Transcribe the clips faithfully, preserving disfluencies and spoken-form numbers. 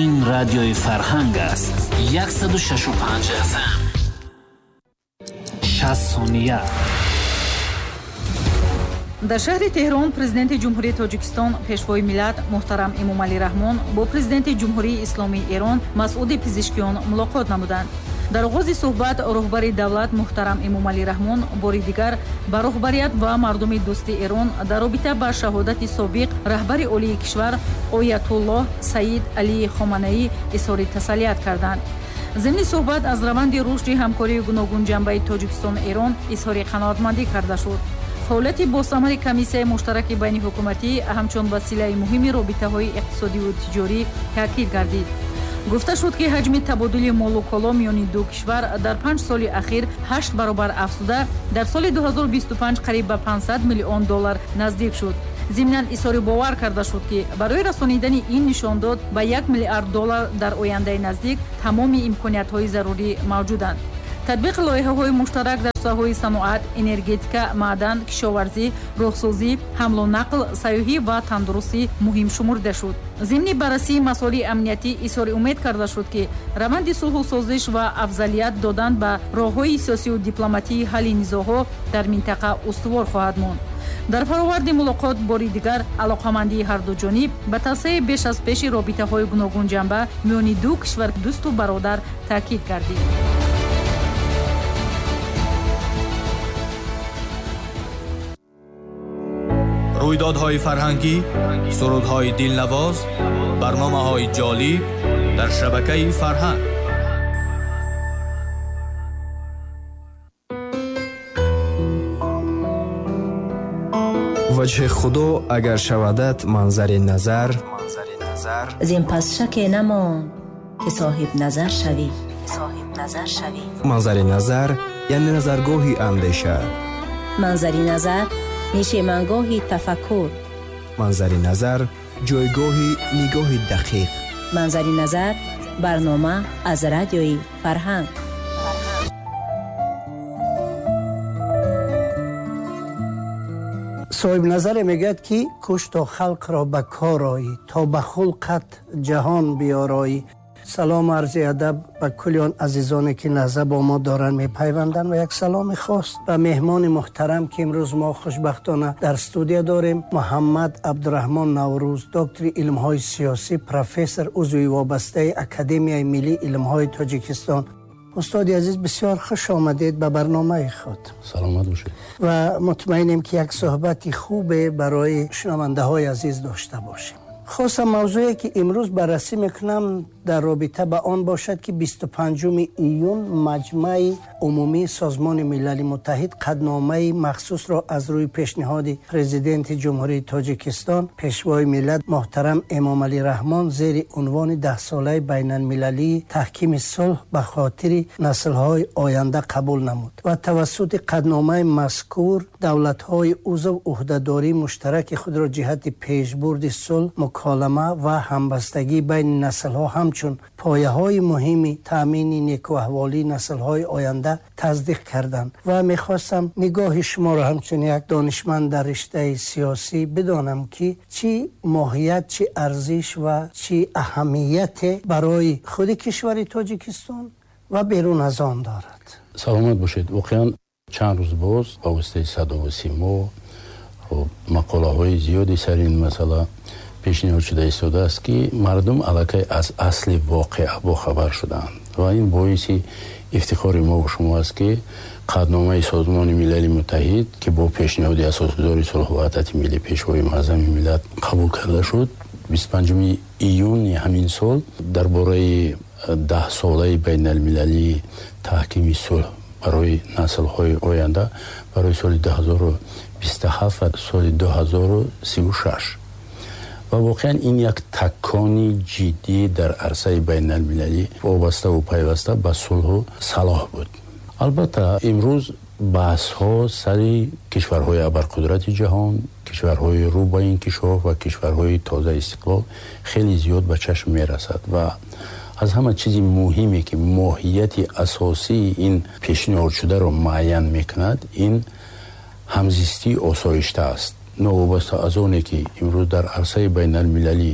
Ин радиои Фарҳанг аст. Яксаду шашу панҷ эф эм. Шаст сония. Дар шаҳри Теҳрон президенти Ҷумҳурии Тоҷикистон, пешвои миллат муҳтарам Эмомалӣ Раҳмон бо президенти Ҷумҳурии Исломии Эрон Масъуди Пизишкиён мулоқот намуданд. Дар оғози суҳбат роҳбари давлат муҳтарам Эмомалӣ Раҳмон бори дигар ба роҳбарият ва мардуми дӯсти Эрон дар робита ба шаҳодати собиқ раҳбари олии кишвар Оятуллоҳ Саид Алӣ Хоманаӣ изҳори тасаллият карданд. Зимни суҳбат аз раванди рушди ҳамкории гуногунҷанбаи Тоҷикистону Эрон изҳори қаноатмандӣ карда шуд. Фаъолияти босамари комиссияи муштараки байниҳукуматӣ ҳамчун василаи муҳими робитаҳои иқтисодиву тиҷорӣ таъкид гардид. Гуфта шуд, ки ҳаҷми табодули молу коло миёни ду кишвар дар панҷ соли ахир ҳашт баробар афзуда, дар соли ду ҳазору бисту панҷ қариб ба панҷсад миллион доллар наздик шуд. Зимнан изҳори бовар карда шуд, ки барои расонидани ин нишондод ба як миллиард доллар дар ояндаи наздик тамоми имкониятҳои зарурӣ мавҷуданд. Татбиқи лоиҳаҳои муштарак дар соҳаҳои саноат, энергетика, маъдан, кишоварзӣ, роҳсозӣ, ҳамлу нақл, сайёҳӣ ва тандурустӣ муҳим шумурда шуд. Зимни баррасии масоили амниятӣ изҳори умед карда шуд, ки раванди сулҳу созиш ва афзалият додан ба роҳҳои сиёсию дипломатии ҳалли низоъҳо дар минтақа устувор хоҳад монд. Дар фароварди мулоқот бори дигар алоқамандии ҳарду ҷониб ба тавсеаи беш аз пеши робитаҳои гуногунҷанба миёни ду кишвар дӯсту бародар таъкид гардид. Рӯйдодҳои фарҳангӣ, сурудҳои дилнавоз, барномаҳои ҷолиб дар шабакаи Фарҳанг. Ваҷҳи Худо агар шавадат манзари назар, зин пас шаке намонд ки соҳиб назар шавӣ. Манзари назар яъне назаргоҳи андеша. Манзари назар нишемангоҳи тафаккур. Манзари назар ҷойгоҳи нигоҳи дақиқ. Манзари назар барнома аз радиои Фарҳанг. Соҳибназаре мегӯяд, ки кӯш то халқро ба кор оӣ, то ба хулқат ҷаҳон биёроӣ. Салом арзи адаб ба кулли он азизоне ки лаҳза бо мо доранд мепайванданд ва як саломи хос ба меҳмони муҳтарам, ки имрӯз мо хушбахтона дар студия дорем, Муҳаммад Абдураҳмон Наврӯз, доктори илмҳои сиёсӣ, профессор, узви вобастаи Академияи миллии илмҳои Тоҷикистон. Устоди азиз, бисёр хуш омадед ба барномаи худ. Саломат бошед. Ва мутмаинем, ки як суҳбати хубе барои шунавандаҳои азиз дошта бошем. Хостам мавзӯе ки имрӯз баррасӣ мекунам дар робита ба он бошад, ки бисту панҷуми июн Маҷмаи Умумии Созмони Милали Муттаҳид қадномаи махсусро аз рӯи пешниҳоди президенти Ҷумҳурии Тоҷикистон, пешвои миллат муҳтарам Эмомалӣ Раҳмон зери унвони даҳсолаи байналмилалии таҳкими сулҳ ба хотири наслҳои оянда қабул намуд ва тавассути қадномаи мазкур давлатҳои узв ӯҳдадории муштараки худро ҷиҳати пешбурди сулҳ, муколама ва ҳамбастагӣ байни наслҳо ҳамчун пояҳои муҳими таъмини некӯаҳволии наслҳои оянда тасдиқ карданд. Ва мехостам нигоҳи шуморо ҳамчун як донишманд дар риштаи сиёсӣ бидонам, ки чӣ моҳият, чӣ арзиш ва чӣ аҳамияте барои худи кишвари Тоҷикистон ва берун аз он дорад. Саломат бошед. Воқеан чанд рӯз боз ба воситаи садову симо мақолаҳои зиёде сари ин масъала пешниҳод шуда истодааст, ки мардум аллакай аз асли воқеа бохабар шуданд ва ин боиси ифтихори мо ва шумо аст, ки қадномаи Созмони Милали Муттаҳид, ки бо пешниҳоди асосгузори сулҳу ваҳдати миллӣ, пешвои муаззами миллат қабул карда шуд, бисту панҷуми июни ҳамин сол дар бораи даҳсолаи байналмилалии таҳкими сулҳ барои наслҳои оянда барои соли ду ҳазору бисту ҳафт ва соли ду ҳазору сиву шаш. Ва воқеан ин як такони ҷиддӣ дар арсаи байналмилалӣ вобаставу пайваста ба сулҳу салоҳ буд. Албатта имрӯз баҳсҳо сари кишварҳои абарқудрати ҷаҳон, кишварҳои рӯ ба инкишоф ва кишварҳои тоза истиқлол хеле зиёд ба чашм мерасад ва аз ҳама чизи муҳиме ки моҳияти асосии ин пешниҳодшударо муайян мекунад, ин ҳамзистии осоишта аст. Новобаста аз оне ки имрӯз дар арсаи байналмилалӣ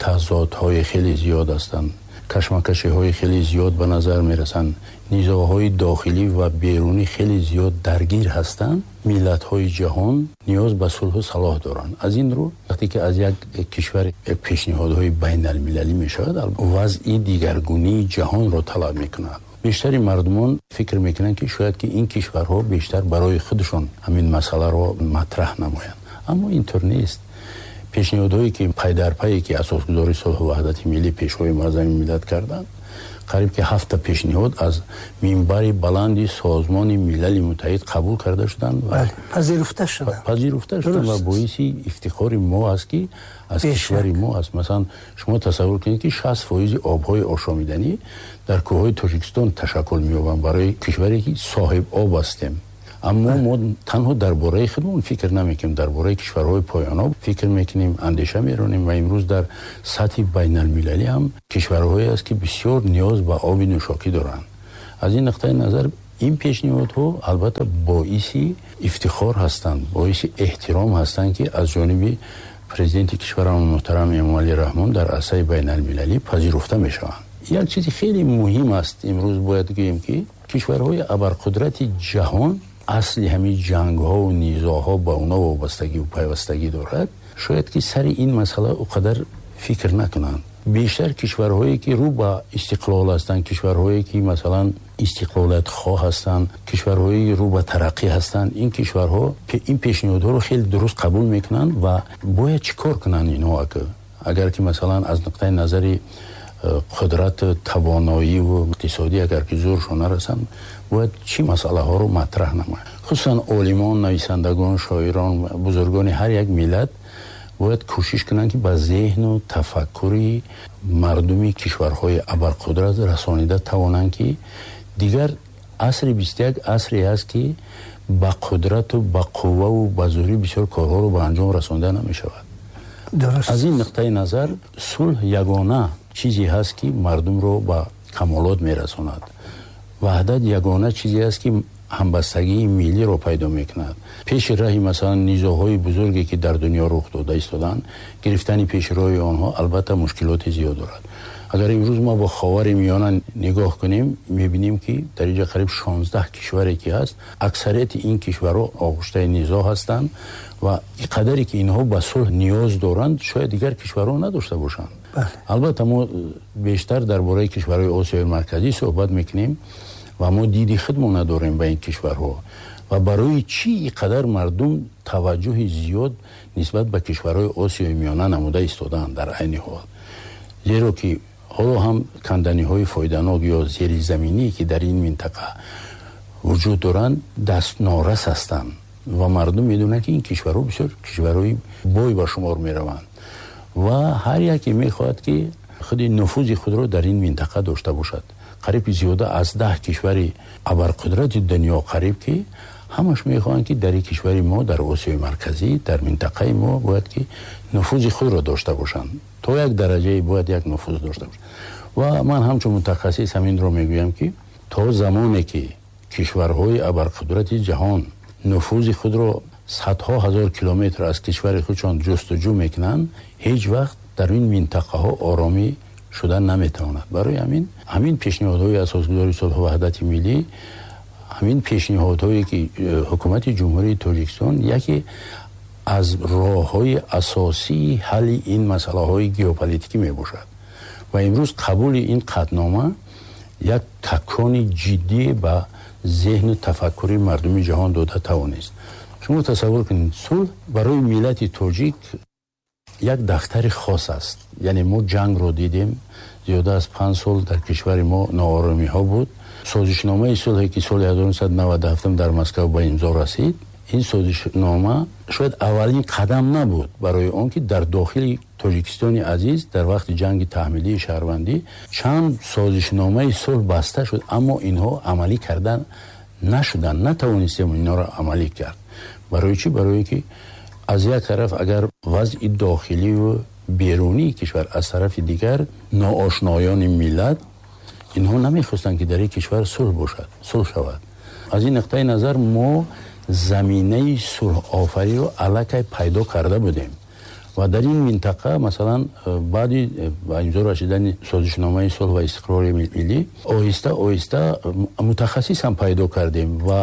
тазодҳои хеле зиёд ҳастанд, кашмакашиҳои хеле зиёд ба назар мерасанд, низоъҳои дохилӣ ва берунӣ хеле зиёд даргир ҳастанд, миллатҳои ҷаҳон ниёз ба сулҳу салоҳ доранд. Аз ин рӯ вақте ки аз як кишвар пешниҳодҳои байналмилалӣ мешавад, вазъи дигаргунии ҷаҳонро талаб мекунад. Бештари мардумон фикр мекунанд, ки шояд ки ин кишварҳо бештар барои худашон ҳамин масъаларо матраҳ намоянд, аммо интур нест. Пешниҳодҳое ки пайдарпае ки асосгузори сулҳу ваҳдати миллӣ, пешвои муаззами миллат карданд, қариб ки ҳафта пешниҳод аз минбари баланди Созмони Милали Муттаҳид қабул карда шуданд ва пазируфта шуданд. Пазируфта шуданд ва боиси ифтихори мо аст, ки аз кишвари мо аст. Масалан, шумо тасаввур кунед, ки шаст фоизи обҳои ошомиданӣ дар кӯҳҳои Тоҷикистон ташаккул меёбанд, барои кишваре ки соҳиб об ҳастем. Аммо мо танҳо дар бораи худмон фикр намекунем, дар бораи кишварҳои поёноб фикр мекунем, андеша меронем ва имрӯз дар сатҳи байналмилалӣ ҳам кишварҳое аст, ки бисёр ниёз ба оби нӯшокӣ доранд. Аз ин нуқтаи назар ин пешниҳодҳо албатта боиси ифтихор ҳастанд, боиси эҳтиром ҳастанд, ки аз ҷониби президенти кишварамон муҳтарам Эмомалӣ Раҳмон дар арсаи байналмилалӣ пазируфта мешаванд. Як чизи хеле муҳим аст, имрӯз бояд гӯем, ки кишварҳои абарқудрати ҷаҳон асли ҳамин ҷангҳо ва низоъҳо ба онҳо вобастагӣ ва пайвастагӣ дорад, шояд ки сари ин масъала он қадар фикр накунанд. Бештар кишварҳое ки рӯ ба истиқлол ҳастанд, кишварҳое ки масалан истиқлолиятхоҳ ҳастанд, кишварҳое рӯ ба тараққӣ ҳастанд, ин кишварҳо ин пешниҳодҳоро хеле дуруст қабул мекунанд ва бояд чӣ кор кунанд инҳо? Агар ки масалан аз нуқтаи назари қудрат, тавоноӣ ва иқтисодӣ агар ки зӯршон нарасанд, бояд чӣ масъалаҳоро матраҳ намоянд? Хусусан олимон, нависандагон, шоирон, бузургони ҳар як миллат бояд кӯшиш кунанд, ки ба зеҳну тафаккури мардуми кишварҳои абарқудрат расонида тавонанд, ки дигар асри бисту як асре аст, ки ба қудрату ба қувваву ба зӯрӣ бисёр корҳоро ба анҷом расонида намешавад. Аз ин нуқтаи назар сулҳ ягона чизе ҳаст, ки мардумро ба камолот мерасонад. Ваҳдат ягона чизе аст, ки ҳамбастагии миллиро пайдо мекунад. Пеши раҳи масалан низоъҳои бузурге ки дар дунё рух дода истоданд, гирифтани пеши роҳи онҳо албатта мушкилоти зиёд дорад. Агар имрӯз мо бо Ховари Миёна нигоҳ кунем, мебинем, ки дар инҷо қариб шонздаҳ кишваре ки ҳаст, аксарияти ин кишварҳо оғӯштаи низоъ ҳастанд ва қадаре ки инҳо ба сулҳ ниёз доранд, шояд дигар кишварҳо надошта бошанд. Албатта мо бештар дар бораи кишварҳои Осиёи Марказӣ суҳбат мекунем ва мо диди худмон надорем ба ин кишварҳо ва барои чӣ қадар мардум таваҷҷӯҳи зиёд нисбат ба кишварҳои Осиёи Миёна намуда истодаанд дар айни ҳол. Зеро ки ҳоло ҳам канданиҳои фоиданок ё зеризаминӣ ки дар ин минтақа вуҷуд доранд, дастнорас ҳастанд ва мардум медонанд, ки ин кишварҳо бисёр кишварҳои бой ба шумор мераванд ва ҳар яке мехоҳад, ки худи нуфузи худро дар ин минтақа дошта бошад. Қариб зиёда аз даҳ кишвари абарқудрати дунё қариб ки ҳамаш мехоҳанд, ки дар ин кишвари мо, дар Осиёи Марказӣ, дар минтақаи мо бояд ки нуфузи худро дошта бошанд. То як дараҷае бояд як нуфуз дошта бошанд. Ва ман ҳамчун мутахассис ҳаминро мегӯям, ки то замоне ки кишварҳои абарқудрати ҷаҳон нуфузи худро садҳо ҳазор километр аз кишвари худшон ҷустуҷӯ мекунанд, ҳеҷ вақт дар ин минтақаҳо оромӣ шуда наметавонад. Барои ҳамин ҳамин пешниҳодҳои асосгузори сулҳу ваҳдати миллӣ, ҳамин пешниҳодҳое ки ҳукумати Ҷумҳурии Тоҷикистон яке аз роҳҳои асосии ҳалли ин масъалаҳои геополитикӣ мебошад ва имрӯз қабули ин қатънома як такони ҷиддӣ ба зеҳну тафаккури мардуми ҷаҳон дода тавонист. Шумо тасаввур кунед, сулҳ барои миллати тоҷик як дафтари хос аст. Яъне мо ҷангро дидем, зиёда аз панҷ сол дар кишвари мо нооромиҳо буд. Созишномаи сулҳе ки соли ҳазору нӯҳсаду наваду ҳафтум дар Москва ба имзо расид, ин созишнома шояд аввалин қадам набуд барои он ки дар дохили Тоҷикистони азиз дар вақти ҷанги таҳмилии шаҳрвандӣ чанд созишномаи сулҳ баста шуд, аммо инҳо амалӣ кардан нашуданд, натавонистем инҳоро амалӣ кард. Барои чӣ? Барои ки аз як тараф агар вазъи дохилӣ ва берунии кишвар, аз тарафи дигар ноошноёни миллат, инҳо намехостанд, ки дар ин кишвар сулҳ бошад, сулҳ шавад. Аз ин нуқтаи назар мо заминаи сулҳофариро аллакай пайдо карда будем Ва дар ин минтақа масалан баъди ба имзо расидани созишномаи сулҳ ва истиқрори миллӣ оҳиста оҳиста мутахассис ҳам пайдо кардем ва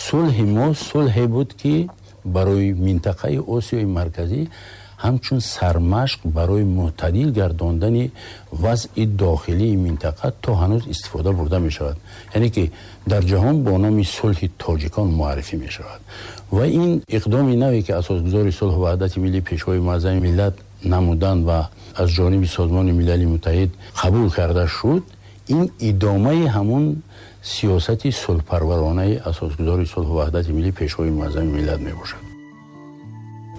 сулҳи мо сулҳе буд, ки барои минтақаи Осиёи Марказӣ ҳамчун сармашқ барои мӯътадил гардондани вазъи дохилии минтақа то ҳанӯз истифода бурда мешавад. Яъне ки дар ҷаҳон бо номи сулҳи тоҷикон муаррифӣ мешавад. Ва ин иқдоми наве ки асосгузори сулҳу ваҳдати миллӣ, Пешвои муаззами миллат намуданд ва аз ҷониби Созмони Милали Муттаҳид қабул карда шуд, ин идомаи ҳамун сиёсати сулҳпарваронаи асосгузори сулҳу ваҳдати миллӣ, Пешвои муаззами миллат мебошад.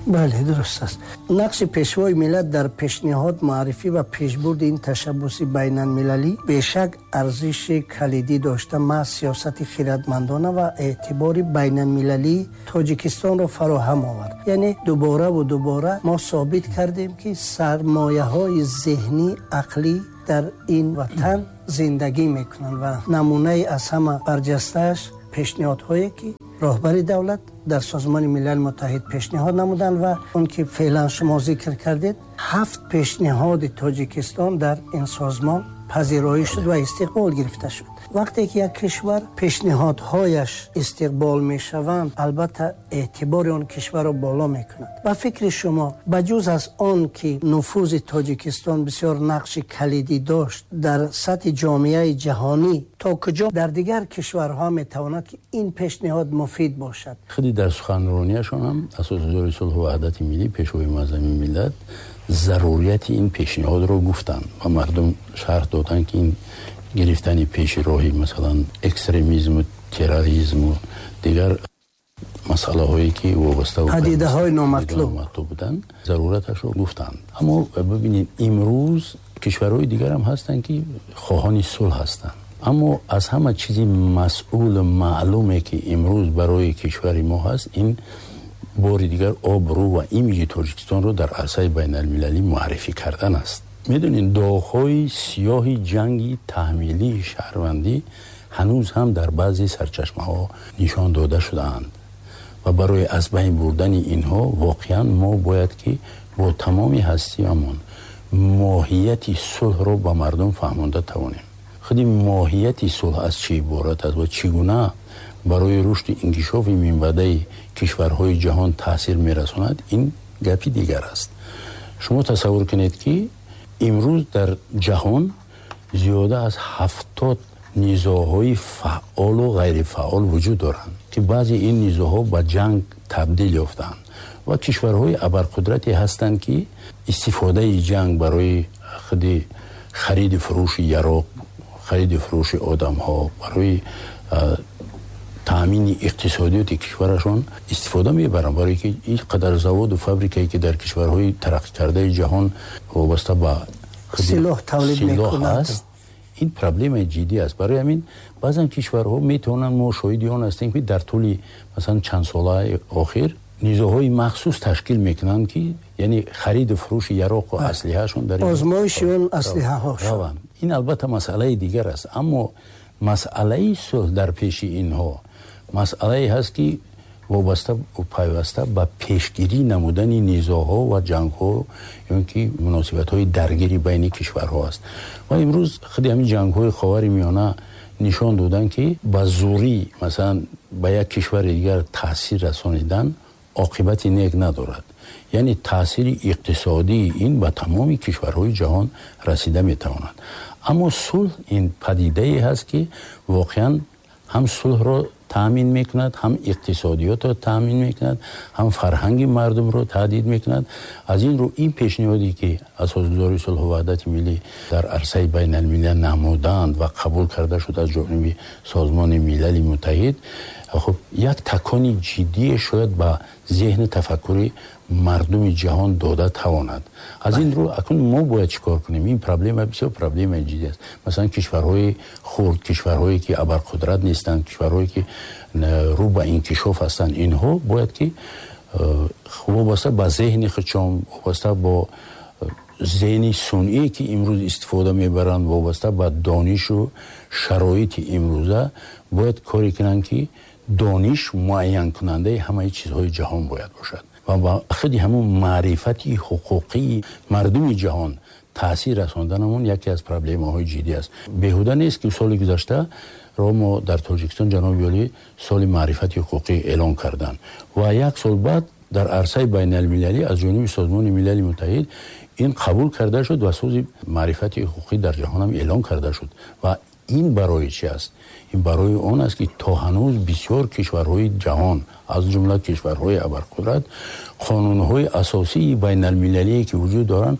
Бале, дуруст аст. Нақши Пешвои миллат дар пешниҳод, муаррифӣ ва пешбурди ин ташаббуси байналмилалӣ бешак арзиши калидӣ дошта, маҳз сиёсати хирадмандона ва эътибори байналмилалии Тоҷикистонро фароҳам овард. Яъне дубора ва дубора мо собит кардем, ки сармояҳои зеҳнӣ, ақлӣ дар ин ватан зиндагӣ мекунанд ва намунаи аз ҳама барҷастааш пешниҳодҳое ки роҳбари давлат дар Созмони Милали Муттаҳид пешниҳод намуданд ва он ки феълан шумо зикр кардед, ҳафт пешниҳоди Тоҷикистон дар ин созмон пазироӣ шуд ва истиқбол гирифта шуд. Вақте ки як кишвар пешниҳодҳояш истиқбол мешаванд, албатта эътибори он кишварро боло мекунад. Ба фикри шумо, ба ҷуз аз он ки нуфузи Тоҷикистон бисёр нақши калидӣ дошт дар сатҳи ҷомеаи ҷаҳонӣ, то куҷо дар дигар кишварҳо метавонад ки ин пешниҳод муфид бошад? Худи дар суханрониашон ҳам асосгузори сулҳу ваҳдати миллӣ, Пешвои муаззами миллат зарурияти ин пешниҳодро гуфтанд ва мардум шарҳ доданд, ки ин гирифтани пеши роҳи масалан экстремизму терроризму дигар масъалаҳое ки вобаста падидаҳои номатлуб буданд, зарураташро гуфтанд. Аммо бибинед, имрӯз кишварҳои дигар ҳам ҳастанд, ки хоҳони сулҳ ҳастанд. Аммо аз ҳама чизи масъулу маълуме ки имрӯз барои кишвари мо ҳаст, ин бори дигар обрӯ ва имиҷи Тоҷикистонро дар арсаи байналмилалӣ муаррифӣ кардан аст. Медонед, доғҳои сиёҳи ҷанги таҳмилии шаҳрвандӣ ҳанӯз ҳам дар баъзе сарчашмаҳо нишон дода шудаанд ва барои аз байн бурдани инҳо воқеан мо бояд ки бо тамоми ҳастиамон моҳияти сулҳро ба мардум фаҳмонда тавонем. Худи моҳияти сулҳ аз чӣ иборат аст ва чӣ гуна барои рушди инкишофи минбаъдаи кишварҳои ҷаҳон таъсир мерасонад, ин гапи дигар аст. Шумо тасаввур кунед, ки имрӯз дар ҷаҳон зиёда аз ҳафтод низоъҳои фаъолу ғайрифаъол вуҷуд доранд, ки баъзе ин низоъҳо ба ҷанг табдил ёфтаанд ва кишварҳои абарқудрате ҳастанд, ки истифодаи ҷанг барои худи хариди фурӯши яроқ, хариди фурӯши одамҳо, барои таъмини иқтисодиёти кишварашон истифода мебаранд, барои ки ин қадар заводу фабрикае ки дар кишварҳои тараққикардаи ҷаҳон вобаста ба силоҳ тавлид мекунанд аст, ин проблемаи ҷиддӣ аст. Барои ҳамин баъзан кишварҳо метавонанд, мо шоҳиди он ҳастем, ки дар тӯли масалан чанд солаи охир низоъҳои махсус ташкил мекунанд, ки яъне хариду фурӯши яроқу аслиҳаашон дар озмоиши он аслиҳаҳо раванд. Ин албатта масъалаи дигар аст, аммо масъалаи сулҳ дар пеши инҳо масъалае ҳаст, ки вобаста пайваста ба пешгирӣ намудани низоъҳо ва ҷангҳо ё ки муносибатҳои даргири байни кишварҳо аст. Ва имрӯз худи ҳамин ҷангҳои Ховари Миёна нишон доданд, ки ба зӯрӣ масалан ба як кишвари дигар таъсир расонидан оқибати нек надорад. Яъне таъсири иқтисодии ин ба тамоми кишварҳои ҷаҳон расида метавонад. Аммо сулҳ ин падидае ҳаст, ки воқеан ҳам сулҳро таъмин мекунад, ҳам иқтисодиётро таъмин мекунад, ҳам фарҳанги мардумро таҳдид мекунад. Аз ин рӯ ин пешниҳоде ки асосгузори сулҳу ваҳдати миллӣ дар арсаи байналмилал намуданд ва қабул карда шуд аз ҷониби Созмони Милали Муттаҳид, хуб як такони ҷиддие шояд ба зеҳни тафаккури мардуми ҷаҳон дода тавонад. Аз ин рӯ акнун мо бояд чӣ кор кунем? Ин проблема бисёр проблемаи ҷиддӣ аст. Масалан кишварҳои хурд, кишварҳое ки абарқудрат нестанд, кишварҳое ки рӯ ба инкишоф ҳастанд, инҳо бояд ки вобаста ба зеҳни худшон, вобаста бо зеҳни сунъие ки имрӯз истифода мебаранд, вобаста ба донишу шароити имрӯза бояд коре кунанд, ки дониш муайянкунандаи ҳамаи чизҳои ҷаҳон бояд бошад. ва ба худи ҳамун маърифати ҳуқуқии мардуми ҷаҳон таъсир расонданамон яке аз проблемаҳои ҷиддӣ аст. Беҳуда нест, ки соли гузашта ро мо дар Тоҷикистон ҷаноби олӣ соли маърифати ҳуқуқӣ эълон карданд ва як сол баъд дар арсаи байналмилалӣ аз ҷониби Созмони Милали Муттаҳид ин қабул карда шуд ва соли маърифати ҳуқуқӣ дар ҷаҳон ҳам эълон карда шуд. Ва ин барои чӣ аст? Ин барои он аст, ки то ҳанӯз бисёр кишварҳои ҷаҳон, аз ҷумла кишварҳои абарқудрат, қонунҳои асосии байналмилалие ки вуҷуд доранд,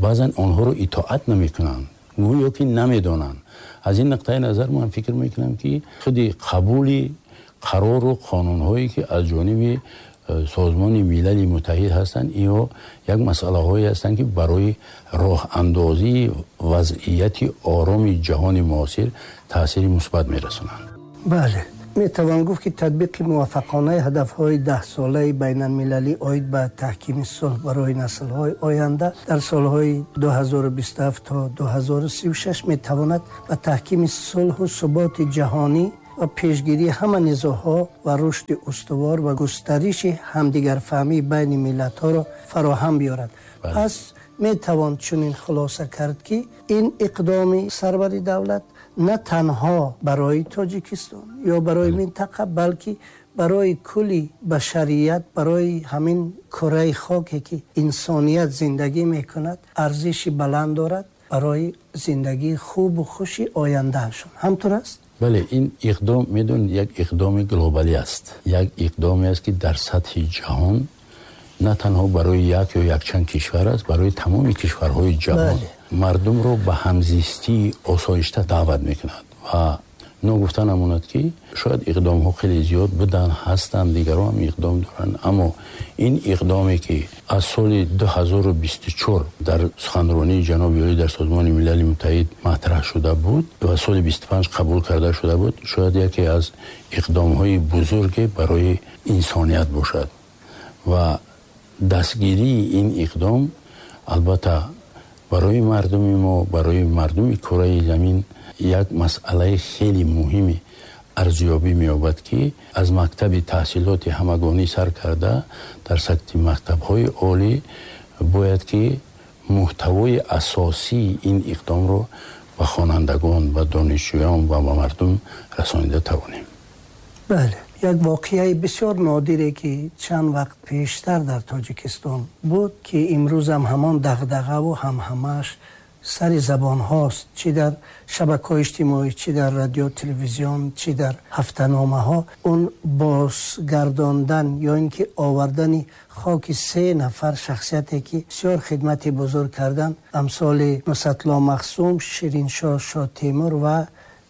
баъзан онҳоро итоат намекунанд, гӯё ки намедонанд. Аз ин нуқтаи назар ман фикр мекунам, ки худи қабули қарору қонунҳое ки аз ҷониби Созмони Милали Муттаҳид ҳастанд, инҳо як масъалаҳое ҳастанд, ки барои роҳандозии вазъияти ороми ҷаҳони муосир таъсири мусбат мерасонанд. Бале, метавон гуфт, ки татбиқи муваффақонаи ҳадафҳои даҳсолаи байналмилалӣ оид ба таҳкими сулҳ барои наслҳои оянда дар солҳои ду ҳазору бисту ҳафт то ду ҳазору сию шаш метавонад ба таҳкими сулҳу суботи ҷаҳонӣ ва пешгирии ҳама низоъҳо ва рушди устувор ва густариши ҳамдигарфаҳмии байни миллатҳоро фароҳам биёрад. Пас метавон чунин хулоса кард, ки ин иқдоми сарвари давлат на танҳо барои Тоҷикистон ё барои минтақа, балки барои кулли башарият, барои ҳамин кураи хоке ки инсоният зиндагӣ мекунад, арзиши баланд дорад барои зиндагии хубу хуши ояндаашон. Ҳамтур аст? Бале, ин иқдом, медонед, як иқдоми глобалӣ аст. Як иқдоме аст, ки дар сатҳи ҷаҳон на танҳо барои як ё якчанд кишвар аст, барои тамоми кишварҳои ҷаҳон мардумро ба ҳамзистии осоишта даъват мекунад. Ва ногуфта намонад, ки шояд иқдомҳо хеле зиёд буданд, ҳастанд, дигарон ҳам иқдом доранд, аммо ин иқдоме ки аз соли ду ҳазору бисту чор дар суханронии ҷаноби олӣ дар Созмони Милали Муттаҳид матраҳ шуда буд ва соли бисту панҷ қабул карда шуда буд, шояд яке аз иқдомҳои бузурге барои инсоният бошад. Ва дастгирии ин иқдом албатта барои мардуми мо, барои мардуми кураи замин як масъалаи хеле муҳими арзёбӣ меёбад, ки аз мактаби таҳсилоти ҳамагонӣ сар карда дар сатҳи мактабҳои олӣ бояд ки муҳтавои асосии ин иқдомро ба хонандагон, ба донишҷӯён ва ба мардум расонида тавонем. Бале, як воқеаи бисёр нодире ки чанд вақт пештар дар Тоҷикистон буд, ки имрӯзам ҳамон дағдағаву ҳамҳамааш сари забонҳост, чӣ дар шабакаҳои иҷтимоӣ, чӣ дар радио, телевизион, чӣ дар ҳафтаномаҳо, он бозгардондан ё ин ки овардани хоки се нафар шахсияте ки бисёр хидмати бузург карданд, амсоли Нусратулло Махсум, Шириншоҳ Шотемур ва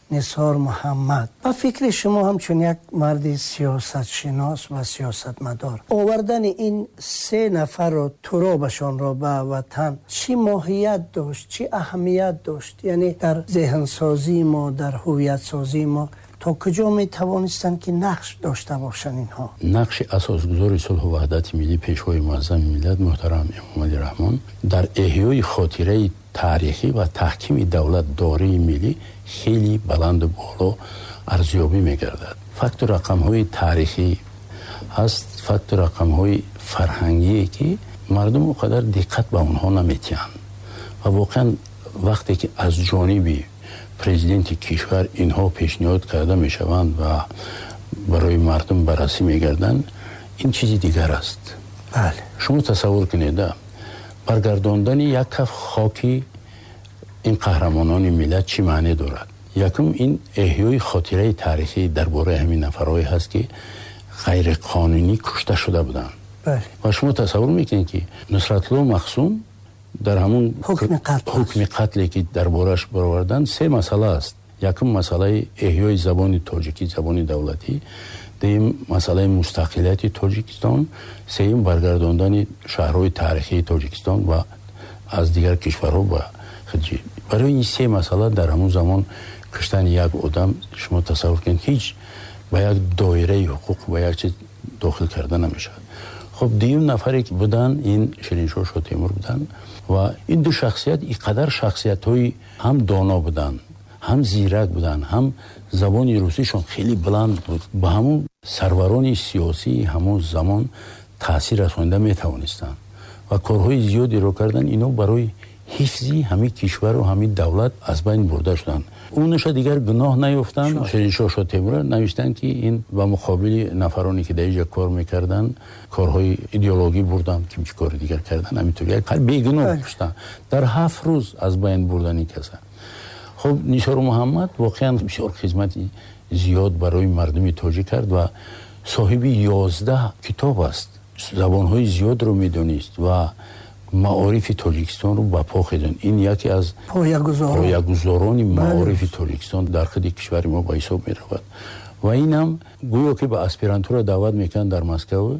Нисор Муҳаммад. Ба фикри шумо ҳамчун як марди сиёсатшинос ва сиёсатмадор, овардани ин се нафарро, туробашонро ба ватан чӣ моҳият дошт, чӣ аҳамият дошт? Яъне дар зеҳнсозии мо, дар ҳувиятсозии мо то куҷо метавонистанд ки нақш дошта бошанд инҳо? Нақши асосгузори сулҳу ваҳдати миллӣ, пешвои муаззами миллат муҳтарам Эмомалӣ Раҳмон дар эҳёи хотираи таърихӣ ва таҳкими давлатдории миллӣ хеле баланду боло арзёбӣ мегардад. Факту рақамҳои таърихӣ ҳаст, факту рақамҳои фарҳангие ки мардум он қадар диққат ба онҳо наметиҳанд ва воқеан вақте ки аз ҷониби президенти кишвар инҳо пешниҳод карда мешаванд ва барои мардум баррасӣ мегарданд, ин чизи дигар аст. Бале. Шумо тасаввур кунед, баргардондани як каф хоки ин қаҳрамонони миллат чӣ маъне дорад? Якум, ин эҳёи хотираи таърихӣ дар бораи ҳамин нафарҳое ҳаст, ки ғайриқонунӣ кушта шуда буданд. Ва шумо тасаввур мекунед, ки Нусратулло Махсум дар ҳамун ҳукми қатле ки дар борааш бароварданд, се масъала аст. Якум, масъалаи эҳёи забони тоҷикӣ, забони давлатӣ. Дуюм, масъалаи мустақилияти Тоҷикистон. Сеюм, баргардондани шаҳрҳои таърихии Тоҷикистон ва аз дигар кишварҳо ба хиҷи. Барои ин се масъала дар ҳамун замон куштани як одам, шумо тасаввур кунед, ҳеҷ ба як доираи ҳуқуқ, ба як чиз дохил карда намешавад. Хуб, дуюм нафаре ки буданд, ин Шириншоҳ Шотемур буданд ва ин ду шахсият ин қадар шахсиятҳои ҳам доно буданд, ҳам зирак буданд, ҳам забони русишон хеле баланд буд. Ба ҳамун сарварони сиёсии ҳамон замон таъсир расонида метавонистанд ва корҳои зиёдеро карданд. Инҳо барои ҳифзи ҳамин кишвару ҳамин давлат аз байн бурда шуданд. Онуша дигар гуноҳ наёфтанд. Шириншоҳ Шотемура навиштанд, ки ин ба муқобили нафароне ки дар инҷа кор мекарданд, корҳои идеологӣ бурданд, ким чӣ кори дигар карданд, ҳаминтур як бегуноҳ куштанд. Дар ҳафт рӯз аз байн бурдани каса. Хуб, Нисор Муҳаммад воқеан бисёр хизмати зиёд барои мардуми тоҷик кард ва соҳиби ёздаҳ китоб аст. Забонҳои зиёдро медонист ва маорифи Тоҷикистонро ба по хезонд. Ин яке аз поягузорони маорифи Тоҷикистон дар худи кишвари мо ба ҳисоб меравад. Ва инам гӯё ки ба аспирантура даъват мекунанд дар Москва,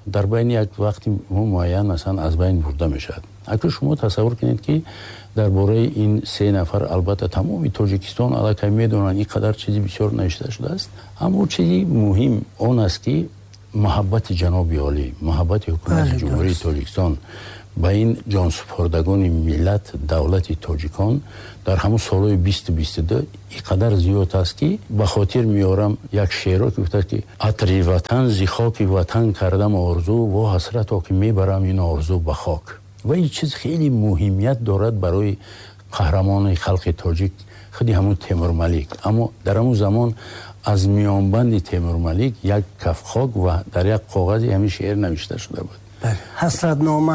дар байни як вақти муайян масалан аз байн бурда мешавад. Акнун шумо тасаввур кунед, ки дар бораи ин се нафар албатта тамоми Тоҷикистон аллакай медонанд, ин қадар чизи бисёр навишта шудааст. Аммо чизи муҳим он аст, ки муҳаббати ҷаноби олӣ, муҳаббати ҳукумати Ҷумҳурии Тоҷикистон ба ин ҷонсупордагони миллат, давлати тоҷикон дар ҳамон солҳои бисту бисту ду ин қадар зиёд аст, ки ба хотир меорам як шеъро, ки гуфтааст, ки атри ватан зи хоки ватан кардам орзу, во ҳасрато ки мебарам ин орзу ба хок. Ва ин чиз хеле муҳимият дорад барои қаҳрамони халқи тоҷик, худи ҳамон Темурмалик. Аммо дар ҳамон замон аз миёнбанди Темурмалик як каф хок ва дар як коғази ҳамин шеър навишта шуда буд. Ҳасратнома.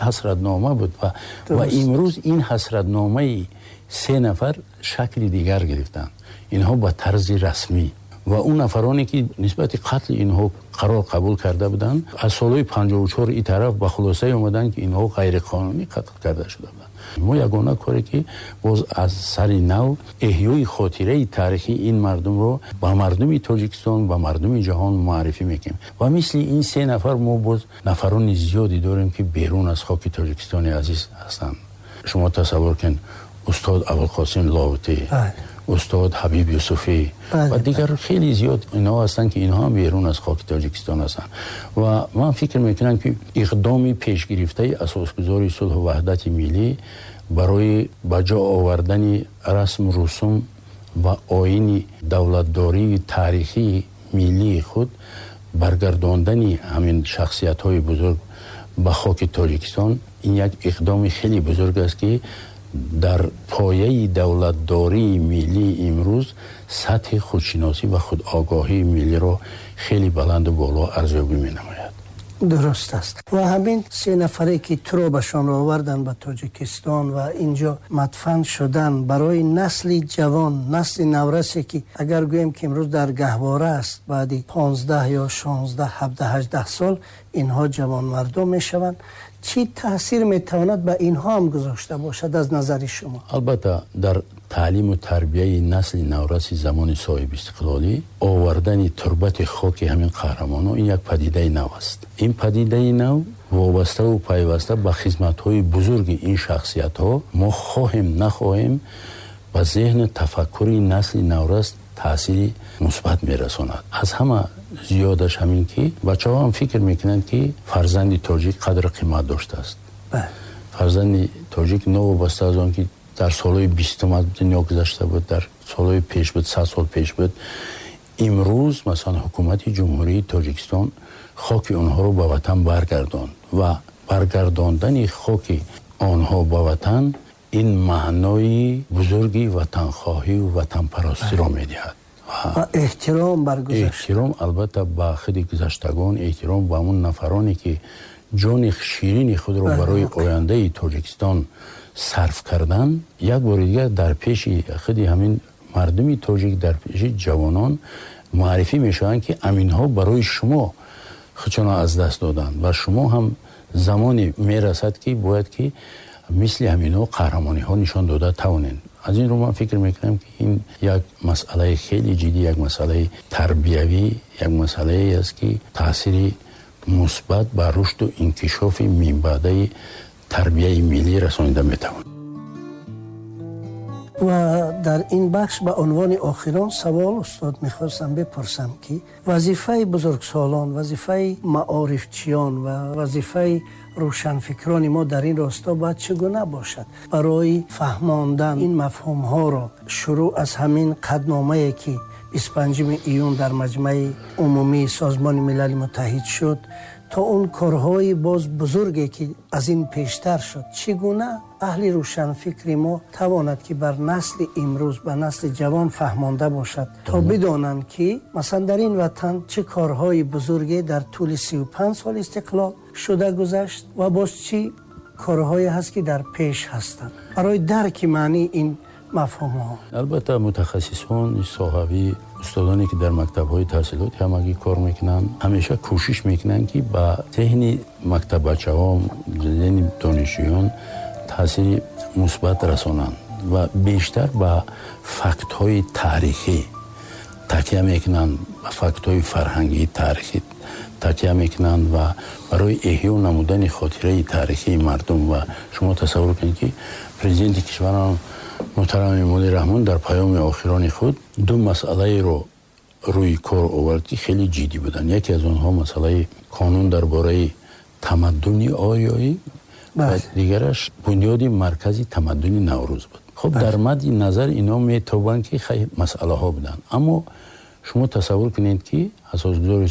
Ҳасратнома буд ва ва имрӯз ин ҳасратномаи се нафар шакли дигар гирифтанд. Инҳо ба тарзи расмӣ ва он нафароне ки нисбати қатли инҳо қарор қабул карда буданд, аз солҳои панҷоҳу чор ин тараф ба хулосае омаданд, ки инҳо ғайриқонунӣ қатл карда шуда буданд. Мо ягона коре ки боз аз сари нав эҳёи хотираи таърихии ин мардумро ба мардуми Тоҷикистон, ба мардуми ҷаҳон муаррифӣ мекунем. Ва мисли ин се нафар мо боз нафарони зиёде дорем, ки берун аз хоки Тоҷикистони азиз ҳастанд. Шумо тасаввур кунед, устод Абулқосим Лоҳутӣ, устод Ҳабиб Юсуфӣ ва дигар хеле зиёд инҳо ҳастанд, ки инҳо ҳам берун аз хоки Тоҷикистон ҳастанд. Ва ман фикр мекунам, ки иқдоми пешгирифтаи асосгузори сулҳу ваҳдати миллӣ барои ба ҷо овардани расму русум ва оини давлатдории таърихии миллии худ, баргардондани ҳамин шахсиятҳои бузург ба хоки Тоҷикистон, ин як иқдоми хеле бузург аст, ки дар пояи давлатдории миллии имрӯз сатҳи худшиносӣ ва худогоҳии миллиро хеле баланду боло арзёбӣ менамояд. Дуруст аст. Ва ҳамин се нафаре ки туробашонро оварданд ба Тоҷикистон ва инҷо мадфан шуданд, барои насли ҷавон, насли наврасе ки агар гӯем ки имрӯз дар гаҳвора аст, баъди понздаҳ ё шонздаҳ, ҳабдаҳ, ҳаждаҳ сол инҳо ҷавонмардон мешаванд, чӣ таъсир метавонад ба инҳо ҳам гузошта бошад аз назари шумо? Албатта дар таълиму тарбияи насли навраси замони соҳибистиқлолӣ овардани турбати хоки ҳамин қаҳрамонон ин як падидаи нав аст. Ин падидаи нав вобаставу пайваста ба хизматҳои бузурги ин шахсиятҳо мо хоҳем нахоҳем ба зеҳну тафаккури насли наврас таъсири мусбат мерасонад. Аз ҳама зиёдаш ҳамин ки бачаҳо ҳам фикр мекунанд, ки фарзанди тоҷик қадру қимат доштааст. Фарзанди тоҷик новобаста аз он ки дар солҳои бистум аз дунё гузашта буд, дар солҳои пеш буд, сад сол пеш буд, имрӯз масалан ҳукумати Ҷумҳурии Тоҷикистон хоки онҳоро ба ватан баргардонд ва баргардондани хоки онҳо ба ватан ин маънои бузурги ватанхоҳӣ ва ватанпарастиро медиҳад. Ва эҳтиром бар гузашта. Эҳтиром албатта ба худи гузаштагон, эҳтиром ба ҳамон нафароне ки ҷони ширини худро барои ояндаи Тоҷикистон сарф кардан, як бори дигар дар пеши худи ҳамин мардуми тоҷик, дар пеши ҷавонон муаррифӣ мешаванд, ки аминҳо барои шумо худшонро аз даст доданд ва шумо ҳам замоне мерасад, ки бояд ки мисли ҳаминҳо қаҳрамониҳо нишон дода тавонед. Аз ин рӯ ман фикр мекунам, ки ин як масъалаи хеле ҷиддӣ, як масъалаи тарбиявӣ, як масъалае аст, ки таъсири мусбат ба рушду инкишофи минбаъдаи тарбияи миллӣ расонида метавонад. Ва дар ин бахш ба унвони охирон савол устод мехостам бипурсам, ки вазифаи бузургсолон, вазифаи маорифчиён ва вазифаи рӯшанфикрони мо дар ин росто бояд чӣ гуна бошад барои фаҳмондан ин мафҳумҳоро, шурӯъ аз ҳамин қадномае ки бисту панҷуми июн дар Маҷмаи Умумии Созмони Милали Муттаҳид шуд То он корҳои боз бузурге ки аз ин пештар шуд, чӣ гуна аҳли рӯшанфикри мо тавонад ки бар насли имрӯз, ба насли ҷавон фаҳмонда бошад, то бидонанд ки масалан дар ин ватан чӣ корҳои бузурге дар тӯли сию панҷ сол истиқлол шуда гузашт ва боз чӣ корҳое ҳаст ки дар пеш ҳастанд, барои дарки маънии ин мафҳумҳо. Албатта, мутахассисони соҳавӣ, устодоне ки дар мактабҳои таҳсилоти ҳамагӣ кор мекунанд, ҳамеша кӯшиш мекунанд, ки ба зеҳни мактаббачаҳо, зеҳни донишҷӯён таъсири мусбат расонанд ва бештар ба фактҳои таърихӣ такя мекунанд, ба фактҳои фарҳангии таърихӣ такя мекунанд ва барои эҳё намудани хотираи таърихии мардум. Ва шумо тасаввур кунед, ки президенти кишварам муҳтарам Эмомалӣ Раҳмон дар паёми охирони худ ду масъалаеро рӯи кор овард, ки хеле ҷиддӣ буданд. Яке аз онҳо масъалаи қонун дар бораи тамаддуни ориёӣ ва дигараш бунёди маркази тамаддуни Наврӯз буд. Хуб, дар мадди назар ино метобанд, ки хай масъалаҳо буданд, аммо шумо тасаввур кунед, ки асосгузори